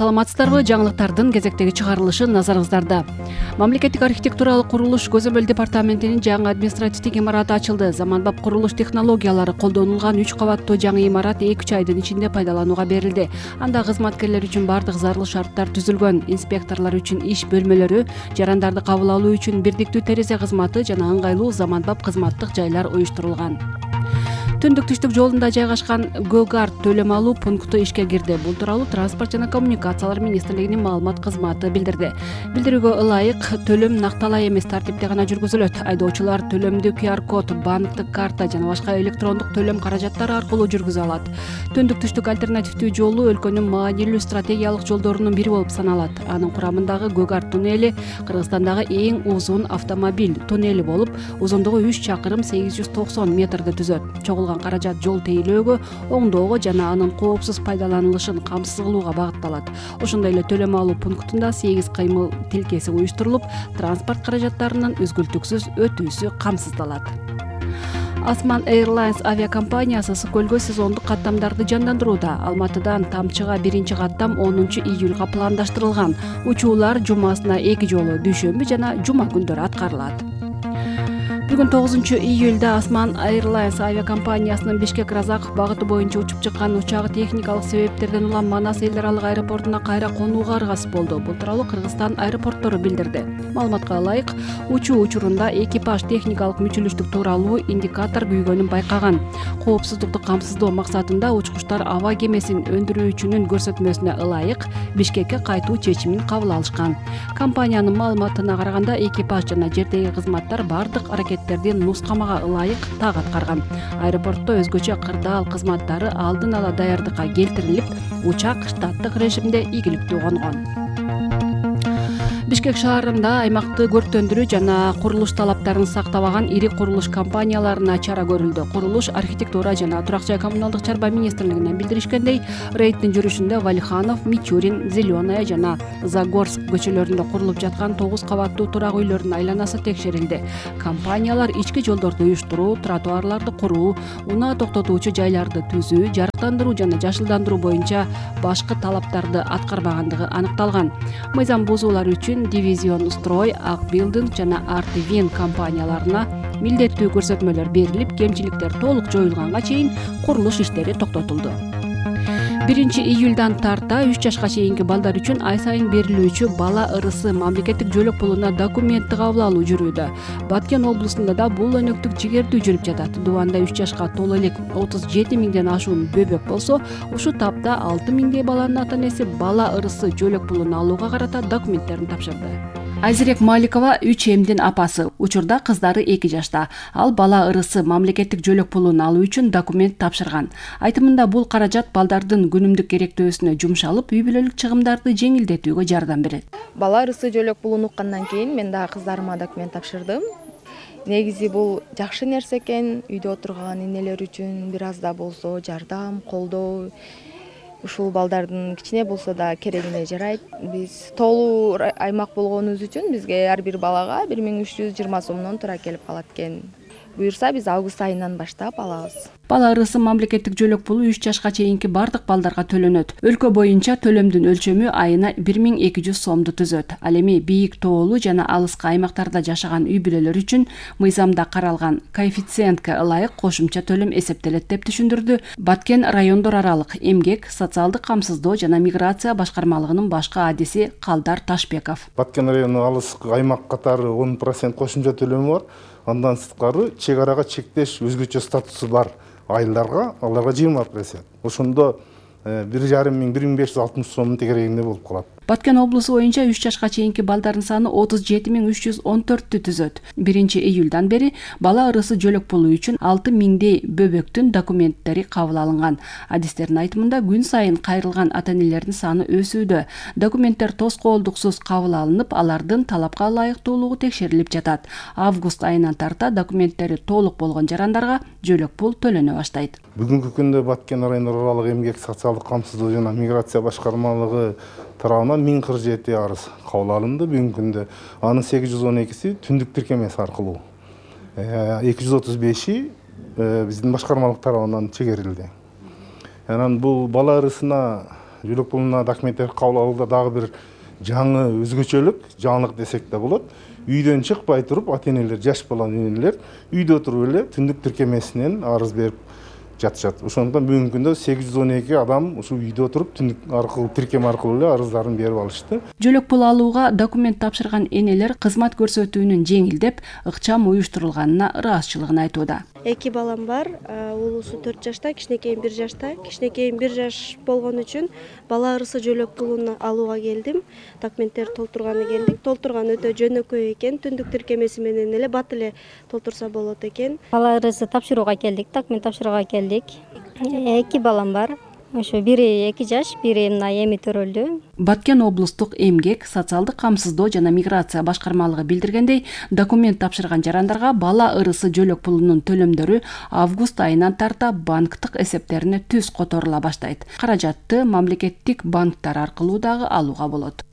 Саламатсыздарбы? Жаңылыктардын кезектеги чыгарылышы назарыңыздарда. Мамлекеттик архитектуралык курулуш көзөмөл департаментинин жаңы административдик имараты ачылды. Заманбап курулуш технологиялары колдонулган 3 кабаттуу жаңы имарат 2-3 айдын ичинде пайдаланууга берилди. Анда кызматкерлер үчүн бардык зарыл шарттар түзүлгөн. Инспекторлор үчүн иш бөлмөлөрү, жарандарды кабыл алуу үчүн бирдиктүү терезе кызматы жана ыңгайлуу заманбап кызматтык жайлар уюштурулган. Түндүк-түштүк жолунда жайгашкан Go-Guard төлөм алуу пункту ишке кирди. Бул тууралуу Транспорт жана коммуникациялар министрлигинин маалымат кызматы билдирди. Билдирүүгө ылайык төлөм накталай эмес тартипте гана жүргүзүлөт. Айдоочулар төлөмдү QR-код, банктык карта жана башка электрондук төлөм каражаттары аркылуу жүргүзө алат. Түндүк-түштүк альтернативдүү жолу өлкөнүн маанилүү стратегиялык жолдорунун бири болуп саналат. Анын курамындагы Go-Guard туннели Кыргызстандагы эң узун автомобиль туннели болуп, узундугу 3 чакырым 890 метрди түзөт. Каражат жол тейлөөгө, оңдоого жана анын коопсуз пайдаланылышын камсыз кылууга багытталат. Ошондой эле төлөм алуу пунктунда 8 кыймыл тилкеси уюштурулуп, транспорт каражаттарынын үзгүлтүксүз өтүүсү камсыздалат. Osman Airlines авиакомпаниясы Ысык көлгө сезондук каттамдарды жандандырууда. Алматыдан Тамчыга биринчи каттам 10 июлга пландаштырылган. Учуулар жумасына 2 жолу дүйшөмбү жана жума күндөрү аткарылат. Бүгүн 9 июлда Osman Airlines авиакомпаниясынын Бишкек-Разаков багыты боюнча учуп чыккан учагы техникалык себептерден улам Манас эл аралык аэропортуна кайра конууга аргасыз болду. Бул тууралуу Кыргызстан аэропорттору билдирди. Маалыматка ылайык, учуу учурунда экипаж техникалык мүчүлүштүк тууралуу индикатор күйгөнүн байкаган. Коопсуздукту камсыздоо максатында учкучтар аба кемесин өндүрүүчүнүн көрсөтмөсүнө ылайык Бишкекке кайтуу чечимин кабыл алышкан. Компаниянын маалыматына караганда, экипаж жана жердеги кызматтар бардык аракеттердин нускамага ылайык так аткарган. Аэропортто өзгөчө кырдаал кызматтары алдын ала даярдыкка келтирилип, учак штаттык режимде ийгиликтүү конгон. Бишкек шаарында аймакты көрктөндүрүү жана курулуш талаптарын сактабаган ири курулуш компанияларына чара көрүлдү. Курулуш, архитектура жана турак жай коммуналдык чарба министрлигинен билдиришкендей, рейдтин жүрүшүндө Валиханов, Мичурин, Зеленая жана Загорск көчөлөрүндө курулуп жаткан 9 кабаттуу турак үйлөрдүн айланасы текшерилди. Компаниялар ички жолдорду уюштуруу, тротуарларды куруу, унаа токтотуучу жайларды түзүү, жарыктандыруу жана жашылдандыруу боюнча башкы талаптарды аткарбагандыгы аныкталган. Мыйзам бузуулар үчүн Дивизион Строй, Ак Билдинг жана Артвин компанияларына милдеттүү көрсөтмөлөр берилип, кемчиликтер толук жоюлганга чейин курулуш иштери токтотулду. 1 июлдан тарта 3 жашка чейинки балдар үчүн ай сайын берилүүчү бала ырысы мамлекеттик жөлөк пулуна документтик кабыл алуу жүрүүдө. Баткен облусунда да бул өнөктүк жигердүү жүрүп жатат. Дубанда 3 жашка толо элек 37 миңден ашуун бөбөк болсо, ушул тапта 6 миңдей баланын ата-энеси бала ырысы жөлөк пулун алууга карата документтерин тапшырды. Айзерек Маликова 3 эмдин апасы. Учурда кыздары 2 жашта. Ал бала ырысы мамлекеттик жөлөк пулун алуу үчүн документ тапшырган. Айтымында бул каражат балдардын күнүмдүк керектөөсүнө жумшалып, үй бүлөлүк чыгымдарды жеңилдетүүгө жардам берет. Бала ырысы жөлөк пулун уккандан кийин мен дагы кыздарыма документ тапшырдым. Негизи бул жакшы нерсе экен. Үйдө отурган энелер үчүн бир аз да болсо жардам, колдоо. Ушул балдардын кичине болсо да керегине жарайт. Биз толуу аймак болгонубуз үчүн бизге ар бир балага 1320 сомдон туура келип калат экен. Буюрса биз август айынан баштап алабыз. Бала ырысы мамлекеттик жөлөк пулу 3 жашка чейинки бардык балдарга төлөнөт. Өлкө боюнча төлөмдүн өлчөмү айына 1200 сомду түзөт. Ал эми бийик тоолуу жана алыскы аймактарда жашаган үй бүлөлөр үчүн мыйзамда каралган коэффициентке ылайык кошумча төлөм эсептелет деп түшүндүрдү Баткен райондор аралык эмгек, социалдык камсыздоо жана миграция башкармалыгынын башкы адиси Калдар Ташбеков. Баткен району алыскы аймак катары 10% кошумча төлөмү бар. Андан сырткары чек арага чектеш өзгөчө статусу бар айылдарга аларга 20%. Ошондо 1560 сомдун тегерегинде болуп калат. Баткен облусу боюнча 3 жашка чейинки балдардын саны 37314 түзөт. 1 июлдан бери бала ырысы жөлөк пулу үчүн 6 миңдей бөбөктүн документтери кабыл алынган. Адистердин айтымында күн сайын кайрылган ата-энелердин саны өсүүдө. Документтер тоскоолдуксуз кабыл алынып, алардын талапка ылайыктуулугу текшерилип жатат. Август айынан тарта документтери толук болгон жарандарга жөлөк пул төлөнө баштайт. Бүгүнкү күндө Баткен райондор аралык эмгек, социалдык камсыздоо жана миграция башкармалыгы тарабынан 1047 арыз кабыл алынды бүгүнкү күндө. Анын 812си түндүк тиркемеси аркылуу. 235и биздин башкармалык тарабынан чегерилди. Анан бул бала ырысына Жөлөк булуна документтер кабыл алууда дагы бир жаңы өзгөчөлүк, жаңылык десек да болот. Үйдөн чыкпай туруп, ата-энелер, жаш баланын энелер үйдө туруп эле түндүк тиркемесинен арыз берип жатышат. Ошондон бүгүнкү күндө 812 адам ушу үйдө туруп түндүк аркылуу, тиркем аркылуу эле арыздарын берип алышты. Жөлөк пул алууга документ тапшырган энелер кызмат көрсөтүүнүн жеңилдеп, ыкчам уюштурулганына ыраазычылыгын айтууда. 2 балам бар, улуусу 4 жашта, кичинекейим 1 жашта. Кичинекейим 1 жаш болгон үчүн бала ырысы жөлөк пулун алууга келдим. Документтер толтурганы келдик. Толтурган өтө жөнөкөй экен. Түндүк тиркемеси менен эле бат эле толтурса болот экен. Бала ырысы тапшырууга келдик, документ тапшырууга келдик. 2 балам бар. Ошо бири 2 жаш, бири мына эми төрөлдү. Баткен облустук эмгек, социалдык камсыздоо жана миграция башкармалыгы билдиргендей, документ тапшырган жарандарга бала ырысы жөлөк пулунун төлөмдөрү август айынан тарта банктык эсептерине түз которула баштайт. Каражатты мамлекеттик банктар аркылуу дагы алууга болот.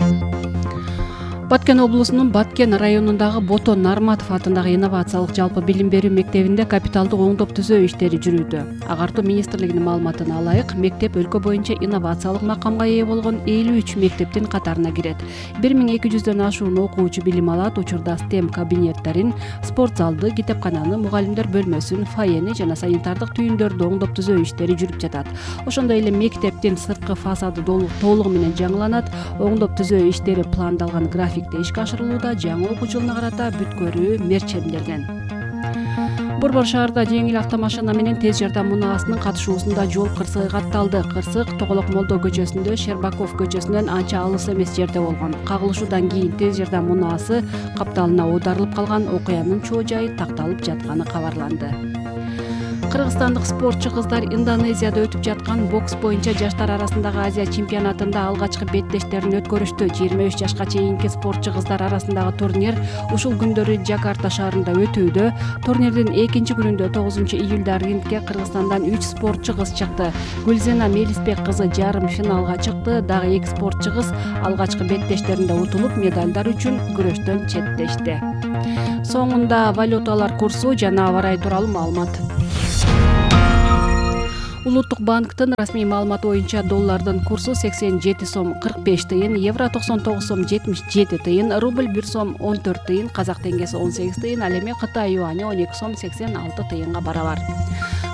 Баткен облусунун Баткен районундагы Бото Нарматов атындагы инновациялык жалпы билим берүү мектебинде капиталдык оңдоп түзөө иштери жүрүүдө. Агартуу министрлигинин маалыматына ылайык, мектеп өлкө боюнча инновациялык макамга ээ болгон 53 мектептин катарына кирет. 1200дөн ашуун окуучу билим алат, учурда STEM кабинеттерин, спорт залды, китепкананы, мугалимдер бөлмөсүн, фойени жана санитардык түйүндөрдү оңдоп түзөө иштери жүрүп жатат. Ошондой эле мектептин сырткы фасады толугу менен жаңыланат, оңдоп түзөө иштери пландалган графикте ишке ашырылууда, жаңы окуу жылына карата бүткөрүү мерчемделген. Борбор шаарда жеңил автомашина менен тез жардам унаасынын катышуусунда жол кырсыгы катталды. Кырсык Тоголок Молдо көчөсүндө, Шербаков көчөсүнөн анча алыс эмес жерде болгон. Кагылышуудан кийин тез жардам унаасы капталына оодарылып калган, окуянын чоо жайы такталып жатканы кабарланды. Кыргызстандык спортчу кыздар Индонезияда өтүп жаткан бокс боюнча жаштар арасындагы Азия чемпионатында алгачкы беттештерин өткөрүштү. 23 жашка чейинки спортчу кыздар арасындагы турнир ушул күндөрү Жакарта шаарында өтүүдө. Турнирдин экинчи күнүндө 9-июлда рингге Кыргызстандан 3 спортчу кыз чыкты. Гүлзена Мелисбек кызы жарым финалга чыкты. Дагы 2 спортчу кыз алгачкы беттештеринде утулуп, медалдар үчүн күрөштөн четтешти. Соңунда валюталар курсу жана аба ырайы тууралуу маалымат. Улуттук банктын расмий маалыматы боюнча доллардын курсу 87 сом 45 тыйын, евро 99 сом 77 тыйын, рубль 1 сом 14 тыйын, казак теңгеси 18 тыйын, ал эми Кытай юани 12 сом 86 тыйынга барабар.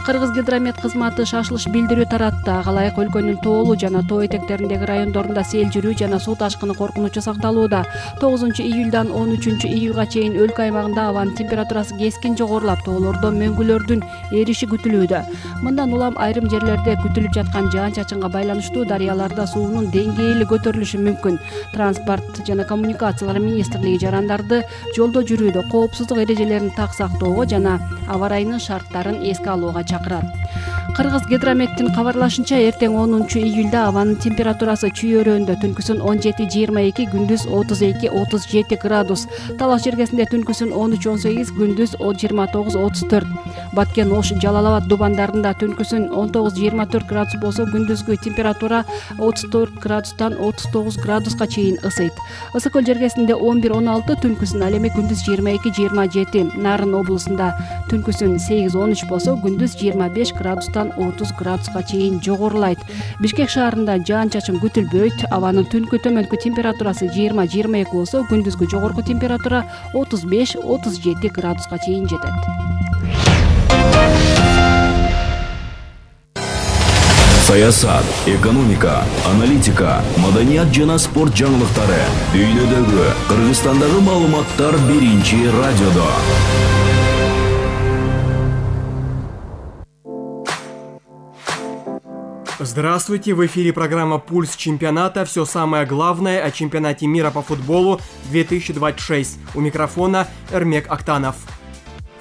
Кыргыз гидромет кызматы шашылыш билдирүү таратты. Ага ылайык өлкөнүн тоолуу жана тоо этектериндеги райондорунда сел жүрүү жана суу ташкыны коркунучу сакталууда. 9-июлдан 13-июлга чейин өлкө аймагында абанын температурасы кескин жогорулап, тоолордо мөңгүлөрдүн эриши күтүлүүдө. Мындан улам айрым жерлерде күтүлүп жаткан жаан-чачынга байланыштуу дарыяларда суунун деңгээли көтөрүлүшү мүмкүн. Транспорт жана коммуникациялар министрлиги жарандарды жолдо жүрүүдө коопсуздук эрежелерин так сактоого жана аба ырайынын шарттарын эске алууга чакырат. Кыргыз гидрометтин кабарлашынча, эртең 10-июлда абанын температурасы Чүй өрөөнүндө түнкүсүн 17-22, күндүз 32-37 градус. Талаш жергесинде түнкүсүн 13-18, күндүз 29-34. Баткен, Ош, Жалал-Абад дубандарында түнкүсүн 19-24 градус болсо, күндүзгү температура 34 градустан 39 градуска чейин ысыйт. Ысык көл жергесинде 11-16, түнкүсүн ал эми күндүз 22-27. Нарын облусунда түнкүсүн 8-13 болсо, күндүз 25 градустан 30 градуска чейин жогорулайт. Бишкек шаарында жаан-чачын күтүлбөйт. Абанын түнкү төмөнкү температурасы 20-22 болсо, күндүзгү жогорку температура 35-37 градуска чейин жетет. Саясат, экономика, аналитика, маданият жана спорт жаңылыктары дүйнөдөгү, Кыргызстандагы маалыматтар биринчи радиодо. Здравствуйте, в эфире программа «Пульс чемпионата». Все самое главное о чемпионате мира по футболу 2026. У микрофона Эрмек Актанов.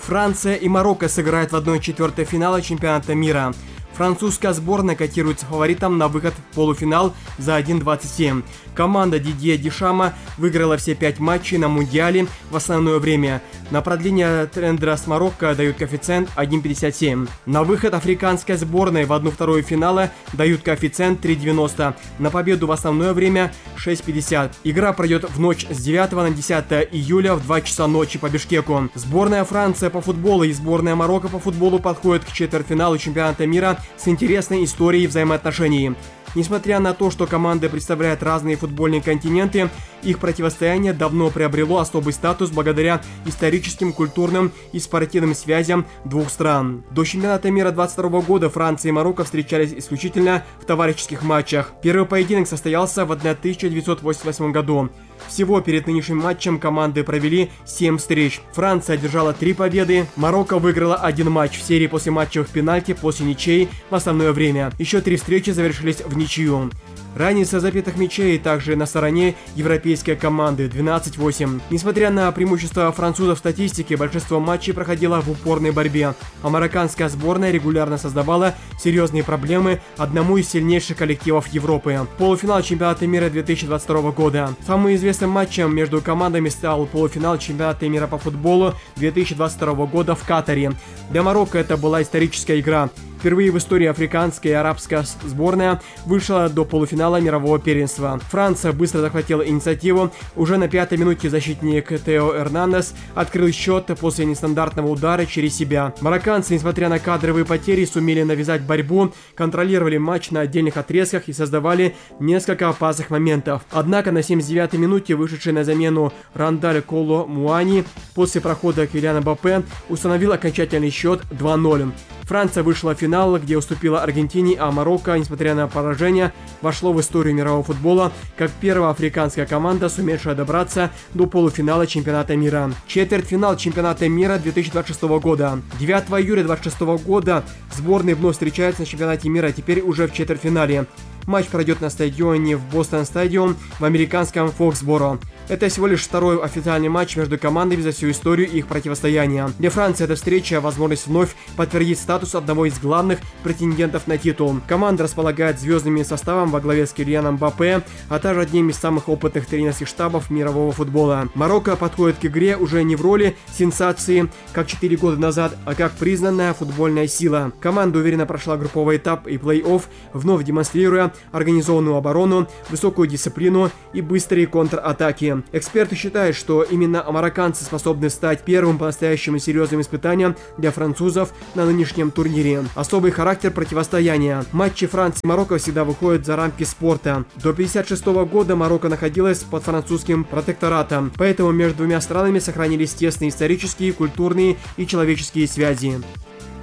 Франция и Марокко сыграют в 1/4 финала чемпионата мира. Французская сборная котируется фаворитом на выход в полуфинал за 1.27. Команда Дидье Дешама выиграла все 5 матчей на Мундиале в основное время. На продление тренда с Марокко дают коэффициент 1.57. На выход африканской сборной в 1/2 финала дают коэффициент 3.90. На победу в основное время 6.50. Игра пройдет в ночь с 9 на 10 июля в 2 часа ночи по Бишкеку. Сборная Франции по футболу и сборная Марокко по футболу подходят к четвертьфиналу чемпионата мира с интересной историей взаимоотношений. Несмотря на то, что команды представляют разные футбольные континенты, их противостояние давно приобрело особый статус благодаря историческим, культурным и спортивным связям двух стран. До чемпионата мира 2022 года Франция и Марокко встречались исключительно в товарищеских матчах. Первый поединок состоялся в 1988 году. Всего перед нынешним матчем команды провели 7 встреч. Франция одержала 3 победы, Марокко выиграла 1 матч в серии после матчевых пенальти после ничей в основное время. Еще 3 встречи завершились в ничью. Разница забитых мячей также на стороне европейской команды 12-8. Несмотря на преимущество французов в статистике, большинство матчей проходило в упорной борьбе, а марокканская сборная регулярно создавала серьезные проблемы одному из сильнейших коллективов Европы. Полуфинал чемпионата мира 2022 года. Самым известным матчем между командами стал полуфинал чемпионата мира по футболу 2022 года в Катаре. Для Марокко это была историческая игра. Впервые в истории африканская и арабская сборная вышла до полуфинала мирового первенства. Франция быстро захватила инициативу. Уже на 5-й минуте защитник Тео Эрнандес открыл счет после нестандартного удара через себя. Марокканцы, несмотря на кадровые потери, сумели навязать борьбу, контролировали матч на отдельных отрезках и создавали несколько опасных моментов. Однако на 79-й минуте вышедший на замену Рандаль Коло Муани после прохода Килиана Мбаппе установил окончательный счет 2-0. Франция вышла в финал, где уступила Аргентине, а Марокко, несмотря на поражение, вошло в историю мирового футбола как первая африканская команда, сумевшая добраться до полуфинала чемпионата мира. Четвертьфинал чемпионата мира 2026 года. 9 июля 2026 года сборные вновь встречаются на чемпионате мира, теперь уже в четвертьфинале. Матч пройдет на стадионе в Бостон Стадиум в американском Фоксборо. Это всего лишь второй официальный матч между командами за всю историю их противостояния. Для Франции эта встреча – возможность вновь подтвердить статус одного из главных претендентов на титул. Команда располагает звездным составом во главе с Килианом Мбаппе, а также одним из самых опытных тренерских штабов мирового футбола. Марокко подходит к игре уже не в роли сенсации, как 4 года назад, а как признанная футбольная сила. Команда уверенно прошла групповой этап и плей-офф, вновь демонстрируя организованную оборону, высокую дисциплину и быстрые контратаки. Эксперты считают, что именно марокканцы способны стать первым по-настоящему серьезным испытанием для французов на нынешнем турнире. Особый характер противостояния. Матчи Франции и Марокко всегда выходят за рамки спорта. До 1956 года Марокко находилась под французским протекторатом, поэтому между двумя странами сохранились тесные исторические, культурные и человеческие связи.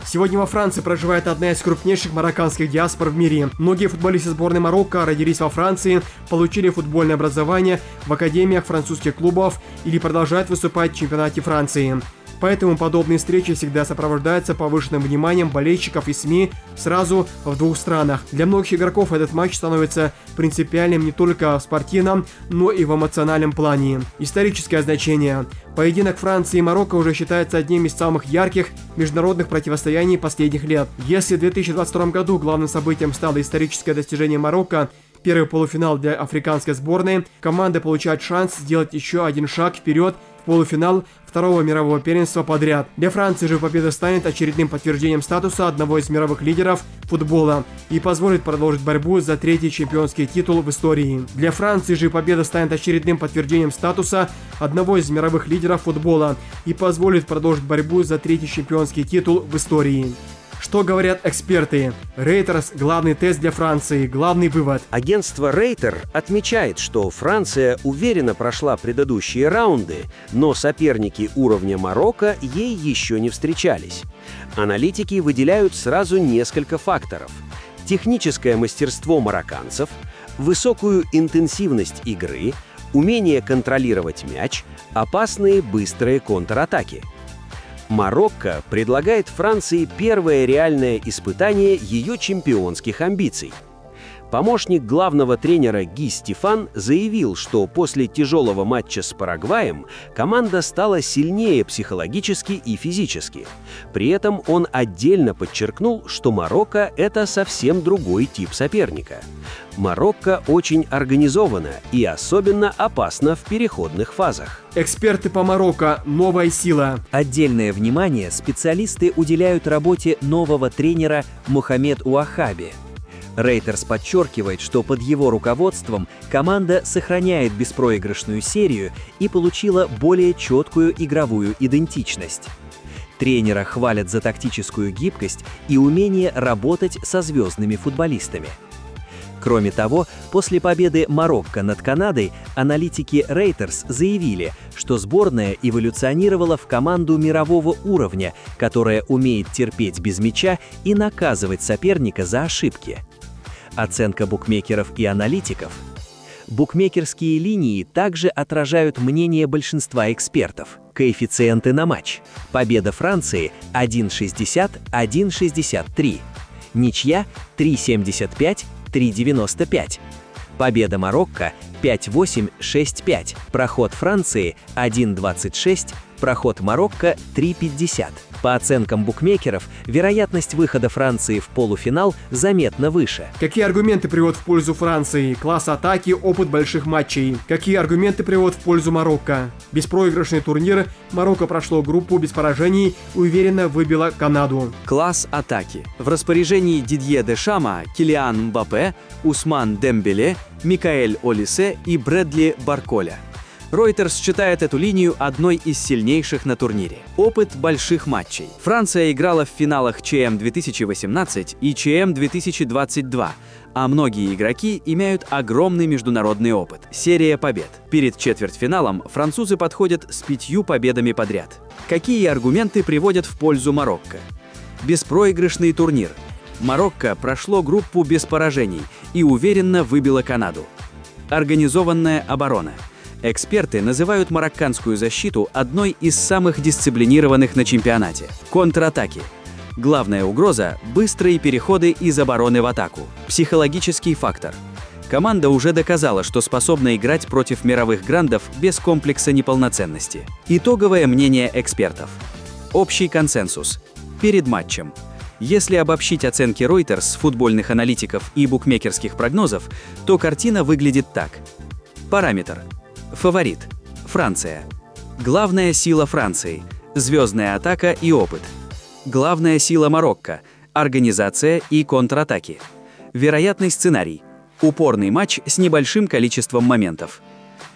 Сегодня во Франции проживает одна из крупнейших марокканских диаспор в мире. Многие футболисты сборной Марокко родились во Франции, получили футбольное образование в академиях французских клубов или продолжают выступать в чемпионате Франции. Поэтому подобные встречи всегда сопровождаются повышенным вниманием болельщиков и СМИ сразу в двух странах. Для многих игроков этот матч становится принципиальным не только в спортивном, но и в эмоциональном плане. Историческое значение. Поединок Франции и Марокко уже считается одним из самых ярких международных противостояний последних лет. Если в 2022 году главным событием стало историческое достижение Марокко, первый полуфинал для африканской сборной, команда получает шанс сделать еще один шаг вперед в полуфинал второго мирового первенства подряд. Для Франции же победа станет очередным подтверждением статуса одного из мировых лидеров футбола и позволит продолжить борьбу за 3-й чемпионский титул в истории. Для Франции же победа станет очередным подтверждением статуса одного из мировых лидеров футбола и позволит продолжить борьбу за 3-й чемпионский титул в истории. Что говорят эксперты? Reuters – главный тест для Франции, главный вывод. Агентство Reuters отмечает, что Франция уверенно прошла предыдущие раунды, но соперники уровня Марокко ей еще не встречались. Аналитики выделяют сразу несколько факторов: техническое мастерство марокканцев, высокую интенсивность игры, умение контролировать мяч, опасные быстрые контратаки. Марокко предлагает Франции первое реальное испытание ее чемпионских амбиций. Помощник главного тренера Ги Стефан заявил, что после тяжелого матча с Парагваем команда стала сильнее психологически и физически. При этом он отдельно подчеркнул, что Марокко – это совсем другой тип соперника. Марокко очень организовано и особенно опасно в переходных фазах. Эксперты по Марокко – новая сила. Отдельное внимание специалисты уделяют работе нового тренера Мохамед Уахаби. Reuters подчеркивает, что под его руководством команда сохраняет беспроигрышную серию и получила более четкую игровую идентичность. Тренера хвалят за тактическую гибкость и умение работать со звездными футболистами. Кроме того, после победы Марокко над Канадой аналитики Reuters заявили, что сборная эволюционировала в команду мирового уровня, которая умеет терпеть без мяча и наказывать соперника за ошибки. Оценка букмекеров и аналитиков. Букмекерские линии также отражают мнение большинства экспертов. Коэффициенты на матч. Победа Франции 1,60, 1,63. Ничья 3,75, 3,95. Победа Марокко 5-8, 6-5. Проход Франции 1-26, проход Марокко 3-50. По оценкам букмекеров, вероятность выхода Франции в полуфинал заметно выше. Какие аргументы приводят в пользу Франции? Класс атаки, опыт больших матчей. Какие аргументы приводят в пользу Марокко? Беспроигрышный турнир. Марокко прошло группу без поражений, уверенно выбило Канаду. Класс атаки. В распоряжении Дидье Дешама, Килиан Мбаппе, Усман Дембеле, Микаэль Олисе и Брэдли Барколя. Reuters считает эту линию одной из сильнейших на турнире. Опыт больших матчей. Франция играла в финалах ЧМ 2018 и ЧМ 2022, а многие игроки имеют огромный международный опыт. Серия побед. Перед четвертьфиналом французы подходят с 5 победами подряд. Какие аргументы приводят в пользу Марокко? Беспроигрышный турнир. Марокко прошло группу без поражений и уверенно выбило Канаду. Организованная оборона. Эксперты называют марокканскую защиту одной из самых дисциплинированных на чемпионате. Контратаки. Главная угроза – быстрые переходы из обороны в атаку. Психологический фактор. Команда уже доказала, что способна играть против мировых грандов без комплекса неполноценности. Итоговое мнение экспертов. Общий консенсус. Перед матчем. Если обобщить оценки Reuters, футбольных аналитиков и букмекерских прогнозов, то картина выглядит так. Параметр. Фаворит. Франция. Главная сила Франции. Звездная атака и опыт. Главная сила Марокко. Организация и контратаки. Вероятный сценарий. Упорный матч с небольшим количеством моментов.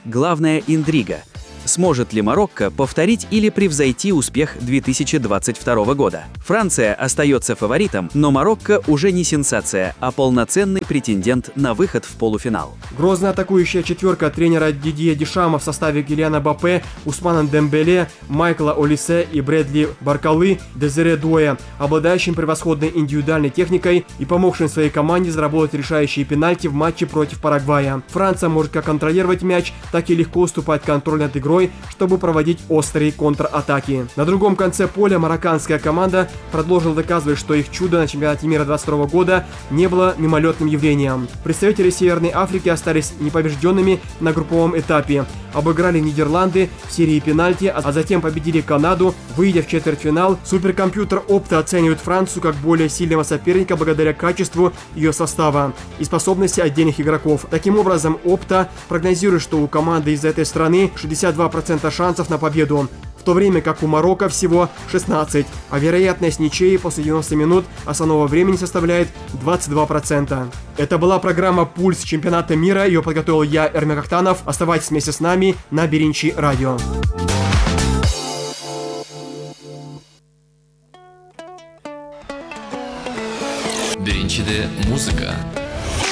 Главная интрига. Сможет ли Марокко повторить или превзойти успех 2022 года? Франция остается фаворитом, но Марокко уже не сенсация, а полноценный претендент на выход в полуфинал. Грозная атакующая четверка тренера Дидье Дешама в составе Килиана Мбаппе, Усмана Дембеле, Майкла Олисе и Брэдли Барколы, Дезире Дуэ, обладающим превосходной индивидуальной техникой и помогшим своей команде заработать решающие пенальти в матче против Парагвая. Франция может как контролировать мяч, так и легко уступать контроль над игрой, чтобы проводить острые контратаки. На другом конце поля марокканская команда продолжила доказывать, что их чудо на чемпионате мира 2022 года не было мимолетным явлением. Представители Северной Африки остались непобежденными на групповом этапе, обыграли Нидерланды в серии пенальти, а затем победили Канаду, выйдя в четвертьфинал. Суперкомпьютер Opta оценивает Францию как более сильного соперника благодаря качеству ее состава и способности отдельных игроков. Таким образом, Opta прогнозирует, что у команды из этой страны 62% шансов на победу, в то время как у Марокко всего 16%, а вероятность ничьей после 90 минут основного времени составляет 22%. Это была программа «Пульс чемпионата мира», ее подготовил я, Эрмек Актанов. Оставайтесь вместе с нами на Беринчи радио.